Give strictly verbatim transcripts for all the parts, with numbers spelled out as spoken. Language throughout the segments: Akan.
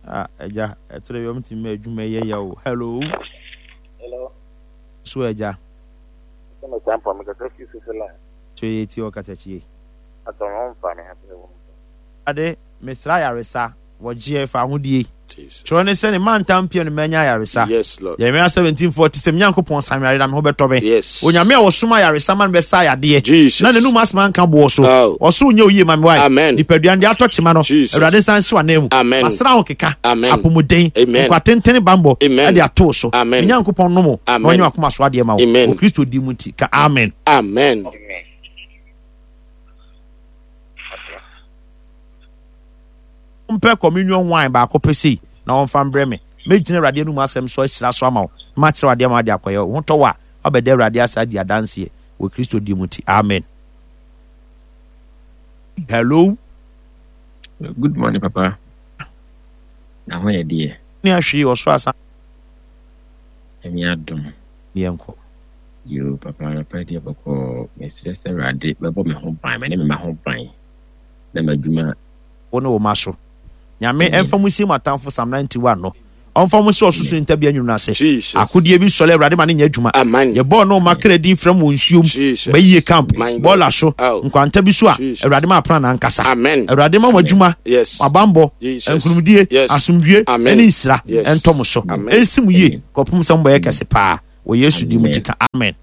Ah, agya, ɛtore bi ɔmo ti mma adwuma yɛ ya o. Hello. Hello. So agya. Sɛ me tampa me kasa fi Switzerland. So yɛ ti ɔkatakyie. Atɔ me ho mfa ne ha sɛ wo. Ade, mesra ayaresa, wɔgyeɛ fa ahodie. Kyerɛ ne sɛ ne mantam pia no manya ayaresa. Yes, Lord. Jeremiah seventeen forty sɛ Nyankopɔn sa me yare na me ho bɛtɔ me. Yes. Onyame a wɔsom ayaresa ma no bɛsa yadeɛ. Jesus. Na n'anum asɛm anka boɔ so. Oh. Ɔsoro nyɛ oyie ma me wae. Amen. Nipadua no deɛ atɔ kyema no. Jesus. Awurade nsa nsi w'anan mu. Amen. Masra ho keka. Amen. Apɔmuden. Amen. Nkwa tenten bambɔ. Amen. Ɛde ato wo so. Amen. Me Nyankopɔn nom wo. Na Amen. ɔnyɛ w'akoma so adeɛ ma wo. Amen. Wɔ Kristo din mu nti ka amen. Amen. Amen. Mpɛ communion wine baako pɛ sei na wɔmfa mbrɛ me. Mɛgyina Awurade anom asɛm so ahyira so ama wo na makyerɛ wo adeɛ ama wode akɔyɛ. Wo ho tɔ wo a, woabɛda Awurade ase adi adanseɛ wɔ Kristo din mu nti. Amen. Hello. Good morning, Papa. Na ho yɛ deɛ. Ne ahwee ɔsoro asa. Nyame adom. Ne yɛnkɔ. Yo, Papa, anɔpa deɛ bɔkɔɔ. Mesrɛ sɛ Awurade bɛbɔ me ho ban, me ne me mma ho ban, na m'adwuma. Wo ne wo mma so. Nyame ɛmfa mo nsie mo atamfo Psalm ninety one no ɔmfa mo nsi ɔsorosoro ntabea nwunu no ase. Jesus. Akodeɛ bi sɔre Awurade ma no nyɛ adwuma. Amen. Yɛbɔɔ ne ɔma kra din frɛ mo wɔ nsuom, Jesus. bayie camp, My God. bɔɔla so, Oh. nkwanta bi so a Jesus. Awurade ma aprannaa nkasa. Amen. Awurade ma mo adwuma, Yes. mo abanbɔ, Jesus. nkunimdie, Yes. asomdwie, Amen. ɛne nhyira Yes. ɛntɔ mo so. Amen. Ɛnsi mo yie Amen. kɔpem sɛ mobɛyɛ kɛse paa. Wɔ Yesu din mu Amen. ti ka amen.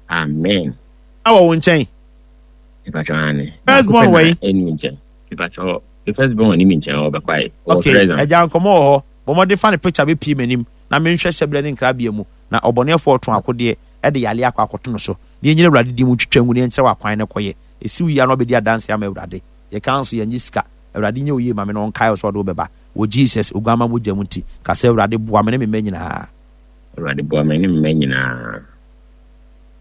Amen. Na wɔ wo nkyɛn. Mepakyɛ ane. First Baako born pɛ na wɔ yi? ɛni me nkyɛn. Mepakyɛ the first born ni me nkyɛn ɔbɛkɔ ayɛ. Ɔwɔ Okay, Trezan. agya nkɔmmɔ wɔ hɔ. Bɔ mmɔden fa ne picture bɛpie m'anim na menhwɛ hyɛberɛ ne nkrabea mu na ɔbɔneɛfoɔ ɔtɔn akodeɛ de yareɛ akɔ akɔto no so. Na yɛnyina Awurade din mu ntwitwa ngu na yɛnkyerɛ wo akwan no kɔyɛ. Ɛsi wo yie a na wabɛdi adanseɛ ama Awurade. Yɛka nso yɛnnye sika. Awurade nyɛ wo yie ma me na ɔnkae wo sɛ ɔde wo bɛba. Wɔ Jesus Oguamma mogya mu nti, ka sɛ, Awurade boa me ne me mma nyinaa. Awurade boa me ne me mma nyinaa.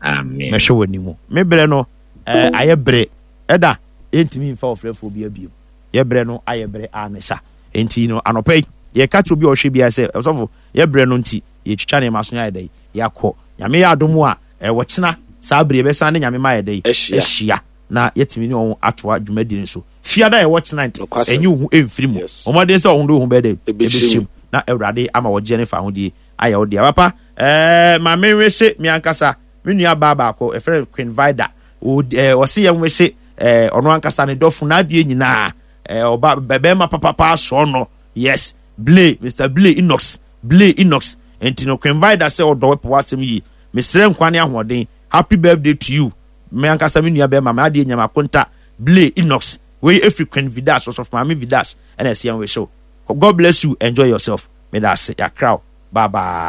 Amen. Mɛhwɛ w'anim. Me berɛ no eh, ayɛ bere. Ɛda, yɛntumi mfa ɔfrɛfoɔ bi abiem. Yɛ berɛ no ayɛ bere a ne sa. Enti no, anɔpa yi, yɛka kyerɛ obi a ɔhwɛ biara sɛ, ɔsɔfo, yɛ berɛ no nti, yɛtwitwa nneɛma so na yɛayɛ dɛn? Yɛakɔ. Nyame yɛ adom a, eh, ɔkyena saa bere yɛbɛsan ne Nyame ma ayɛ dɛn? Ahyia. Ahyia. Na yɛatumi ne wɔn atoa dwumadie no so. Fiada a ɛwɔ kyena nti, Nokwasɛm. ɛnyi wo ho ɛmfiri mu. Yes. Bɔ mmɔden sɛ wo ho de wo ho bɛyɛ dɛn? Ɛbɛhyɛ Ɛbɛhyɛ mu. mu. Na Awurade ama wɔgyeɛ ne fahodie ayɛ wo dea. Papa, eh, ma menwehye me ankasa me nua baa baako, yɛfrɛ no Queen Vida. O, eh, ɔse yɛnwehye eh, ɔno ankasa ne dɔfo n'adeɛ nyinaa. Eh, ɔba bɛrima papapa asɔɔ no. Yes, Blay, Mister Blay Enox, Blay Enox. Nti no, Queen Vida sɛ ɔdɔ wɛpɛ w'asɛm yie. Mesrɛ nkwa ne ahoɔden. Happy birthday to you. Me ankasa me nua bɛrima, m'adeɛ nyinaa m'akonta, Blay Enox. Wei ɛfiri Queen Vidas, Ɔsɔfo Maame Vidas, ɛna ɛse yɛnwehye wo. God bless you, enjoy yourself. Meda ase, yɛakra wo. Bye bye.